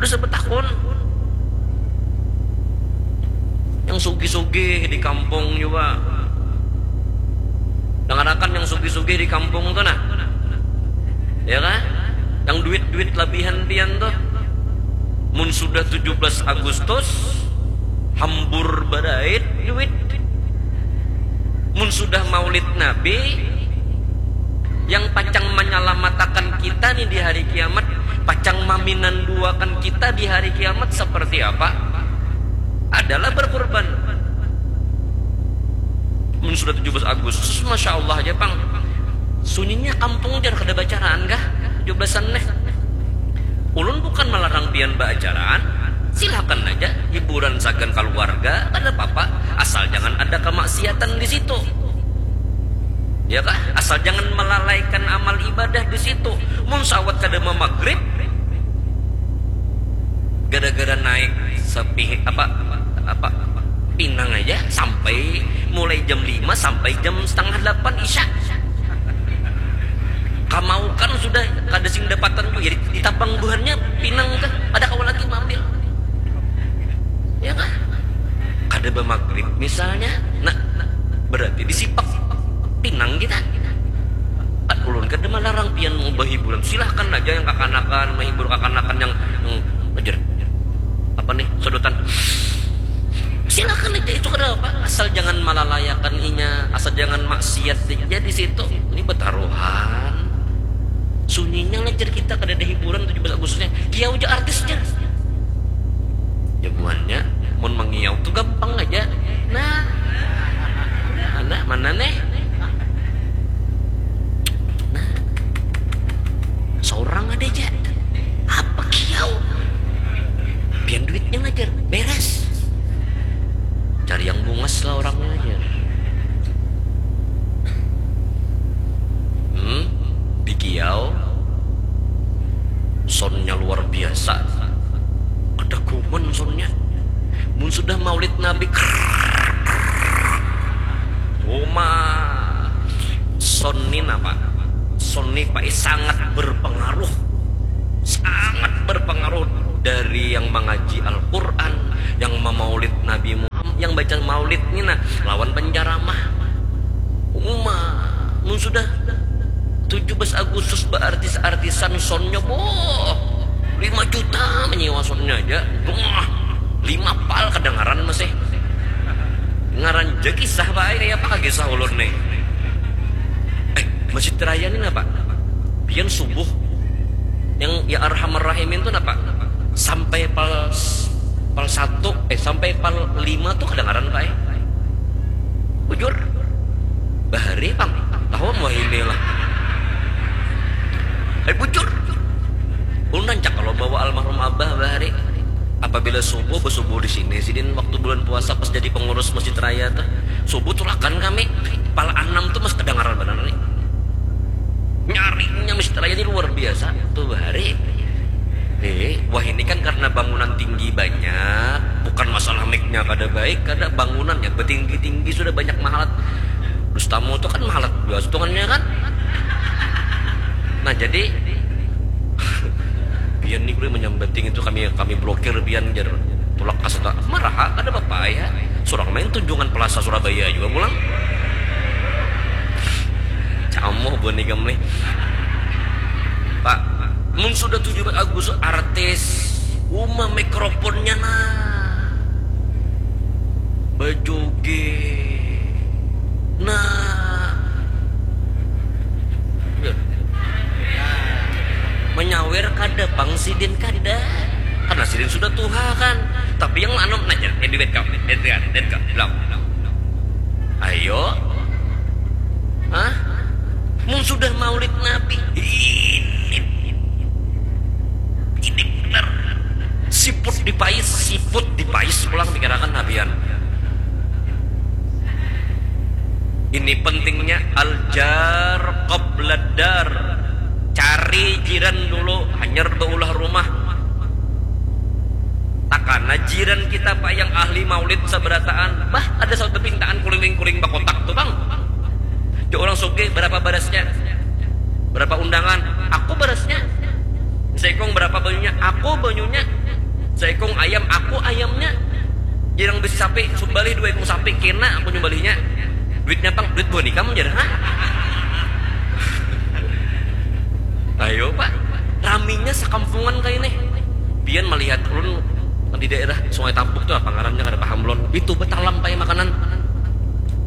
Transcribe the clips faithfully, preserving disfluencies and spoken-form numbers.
Terus betakun. Yang sugih-sugih di kampung juga. Dangarakan yang sugih-sugih di kampung tuh nah. Ya kan? Yang duit-duit labihan pian tuh. Mun sudah tujuh belas Agustus, hambur badait duit. Mun sudah Maulid Nabi, yang pacang manyalamatakan kita nih di hari kiamat, pacang maminanduakan kita di hari kiamat seperti apa? Adalah berkurban. Mun sudah tujuh belas Agustus, masya Allah aja pang. Sunyinya kampung jar, kada bacaraan kah? Tujuh belasan neh. Ulun bukan melarang pian baacaraan, silakan aja hiburan sagan keluarga, kada apa-apa, asal jangan ada kemaksiatan di situ. Ya kah? Asal jangan melalaikan amal ibadah di situ. Mun sawat kada mamagrib, gara-gara naik sepi apa apa pinang aja sampai mulai jam lima sampai jam setengah delapan isya. Kamaukan sudah kada sing dapatan juga, jadi ditabang buhannya pinang kah, ada kawa lagi maambil. Ya kah? Kada bamagrib misalnya, nah, berarti disipak pinang kita. Kan ulun kada melarang pian mau berhiburan, silahkan aja yang kakanakan menghibur kakanakan yang, yang ajar apa nih, sedotan, silahkan aja, itu kada apa, asal jangan malalayakan inya, asal jangan maksiat aja di situ. Ini betaruhan. Sunyinya lah jar kita, kada ada hiburan tujuh belas Agustusnya. Kiau aja artisnya. Ya buhannya, mun mangiau tuh gampang aja. Nah, anak mana nih? Nah, seorang ada aja. Apa kiau? Pian duitnya ngajar, beres. Cari yang bungas lah orangnya aja. Hmm, di kiau, soundnya luar biasa. Kada guman soundnya. Mun sudah Maulid Nabi, krrrr, uma, sound ni napa? Sound ni, Pak, sangat berpengaruh, sangat berpengaruh dari yang mengaji Al-Quran, yang memaulid Nabi Muhammad, yang baca maulid ni nah, lawan penceramah. Uma, mun sudah tujuh belas Agustus berartis-artisan soundnya, boh, lima juta menyewa soundnya aja, boh, lima pal kedengaran masih. Ngaran je kisah baik, kayak apa kisah ulun nih? Eh, Masjid Raya ini napa? Pian subuh yang ya Arhamar Rahimin tuh napa? Sampai pal pal satu, eh, sampai pal lima tuh kedengaran, Pak, eh? Bujur. Bahari pang. Tahu mau ini lah. Eh, bujur. Ulun rancak kalau bawa almarhum Abah bahari. Apabila subuh, bersubuh di sini. Sidin waktu bulan puasa pas jadi pengurus Masjid Raya tuh. Subuh tulakan kami. Pal enam tuh masih kedengaran benar nih. Nyaringnya Masjid Raya ini luar biasa. Tuh bahari. Eh, wah, ini kan karena bangunan tinggi banyak, bukan masalah mic-nya kada baik, kada, bangunannya betinggi-tinggi sudah banyak mahalat. Dustamu tuh kan mahalat dua setungannya kan. Nah, jadi pian ni kuliah menyambating itu, kami kami blokir pian, jar. Tulak kaseta, marah, kada apa-apa ya. Surang main tunjungan Plaza Surabaya juga pulang. Camoh buhan ikam nih. Pak, mun sudah tujuh belas Agustus, artis, uma mikrofonnya nah. Bajoget. Nah. Menyawer kada pang sidin, kada. Karena sidin sudah tuha kan. Tapi yang anu, nah, jadi duit kau, duit kau, duit kau, bilang. Ayo. Hah? Mun sudah Maulid Nabi, ini, ini benar. Siput dipais, siput dipais pulang, pikirakan nabian. Ini pentingnya al-jar qabla dar. Cari jiran dulu, hanyar baulah rumah. Takana jiran kita, Pak, yang ahli maulid sabarataan. Bah, ada satu pintaan kuling-kuling bakotak tuh, Bang. Dia orang sugih, berapa barasnya? Berapa undangan? Aku barasnya. Sekong berapa banyunya? Aku banyunya. Saikung ayam, aku ayamnya. Jarang bisi sapi, sumbalih dua ikung sapi, kena aku nyumbalihnya. Duitnya pang, duit buhan ikam jar, ha? Ayo pak, raminya sakampungan kayak ini. Pian melihat ulun di daerah Sungai Tambuk tuh apa ngarannya, kada paham belum. Itu betalam kayak makanan.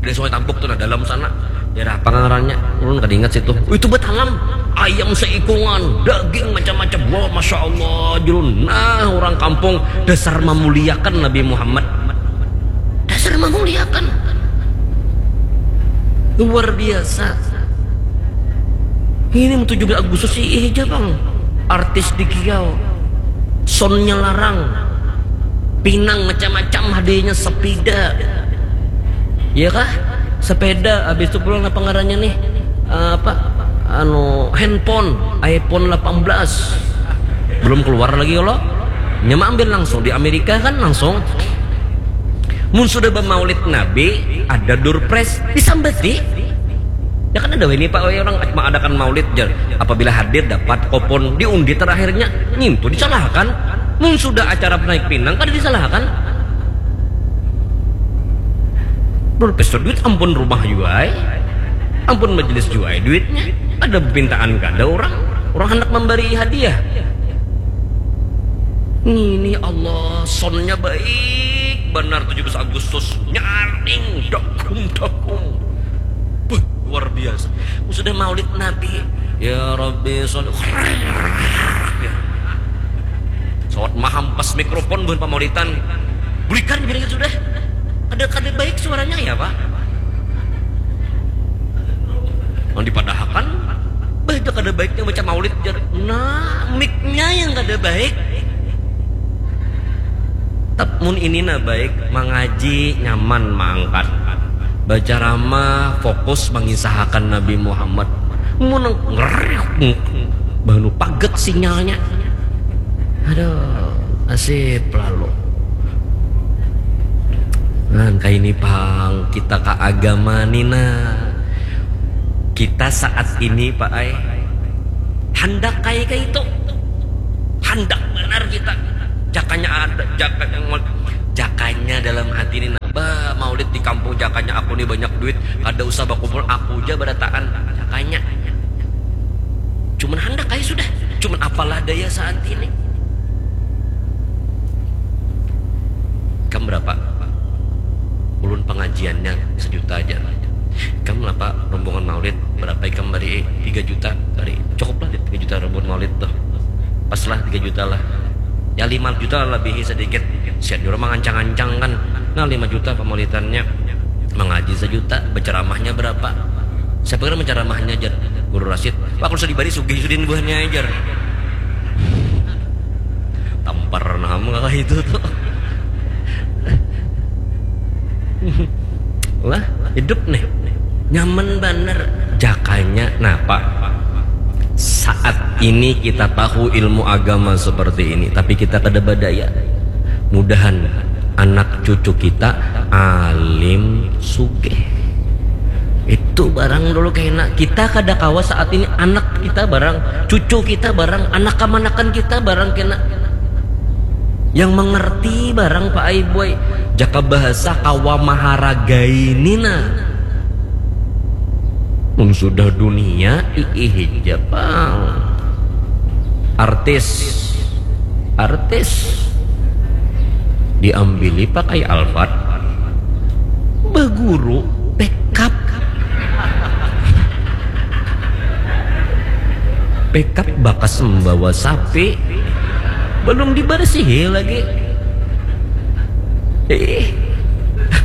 Di Sungai Tambuk tuh, nah, dalam sana. Daerah apa ngarannya? Ulun kada ingat situ. Itu betalam. Ayam seikungan, daging macam-macam. Wah, masya Allah, julun. Nah, orang kampung dasar memuliakan Nabi Muhammad. Dasar memuliakan. Luar biasa. Ini tujuh belas Agustus sih, eh, aja bang. Artis di kiau. Soundnya larang. Pinang macam-macam, hadiahnya sepeda. Iya kah? Sepeda, habis itu pulang apa ngarannya nih? Eh, apa? Anu, handphone, iPhone delapan belas. Belum keluar lagi kalau. Nya mah ambil langsung di Amerika kan langsung. Mun sudah bermaulid Nabi, ada door prize, disambati. Ya kan ada ini pak, orang mengadakan maulid jar. Apabila hadir dapat kupon diundi terakhirnya, ngintu disalahkan. Mun sudah acara naik pinang kada disalahkan. Belum pesta duit, ampun rumah jua ai. Ampun majelis jua ai duitnya. Ada pintaan kada orang. Orang hendak memberi hadiah. Ini Allah, soundnya baik benar tujuh belas Agustus. Nyaring, dakum, dakum. Buh, luar biasa. Sudah maulid Nabi. Ya Rabbi, sholli. Sawat mahampas mikrofon buhan pamaulitan. Bulikan gini sudah. Kada, kada baik suaranya ya pak. Yang dipadahakan, bah, itu kada baiknya baca maulid jar. Nah, mic-nya yang kada baik. Tap mun ini nah baik, mangaji nyaman maangkat. Baca ramah, fokus mangisahakan Nabi Muhammad. Mun nang ngeriuk, bahnu paget sinyalnya. Aduh, nasib lalu. Nah, kayak ini pang kita ke agama nih nah. Kita saat ini pak ai, handak kayak itu. Handak benar kita. Jakanya ada, jakanya ngol-, jakanya dalam hati ini nah. Bah, maulid di kampung jakanya aku nih banyak duit. Kada usah bakumpul, aku aja berataan. Jakanya. Cuman handak kayak sudah. Cuman apalah daya saat ini. Kam berapa? Ulun pengajiannya sejuta aja. Kam apa rombongan maulid berapa ikam bari? Tiga juta bari. Cukup lah di tiga juta rombongan maulid tuh. Pas lah tiga juta lah. Ya lima juta lah lebih sedikit. Sian dulu mangancang-ancang kan. Nah lima juta pemaulidannya. Mengaji sejuta, berceramahnya berapa? Siapa kira menceramahnya jar Guru Rasid? Wah kalau sudah dibari sugih sudin buahnya jar. Tampar nama itu tuh. Lah hidup nih nyaman banar. Jakanya napa? Saat ini kita tahu ilmu agama seperti ini, tapi kita kada badaya. Mudahan anak cucu kita alim sugih. Itu barang dulu kena. Kita kada kawa saat ini anak kita barang, cucu kita barang, anak kamanakan kita barang kena yang mengerti barang pak ai buai. Jaka bahasa kawa maharagai nina. Mun sudah dunia iih ja pang. Artis, artis diambili pakai Alphard, baguru pekap. Pekap bakas membawa sapi, belum dibersihi lagi. Ih,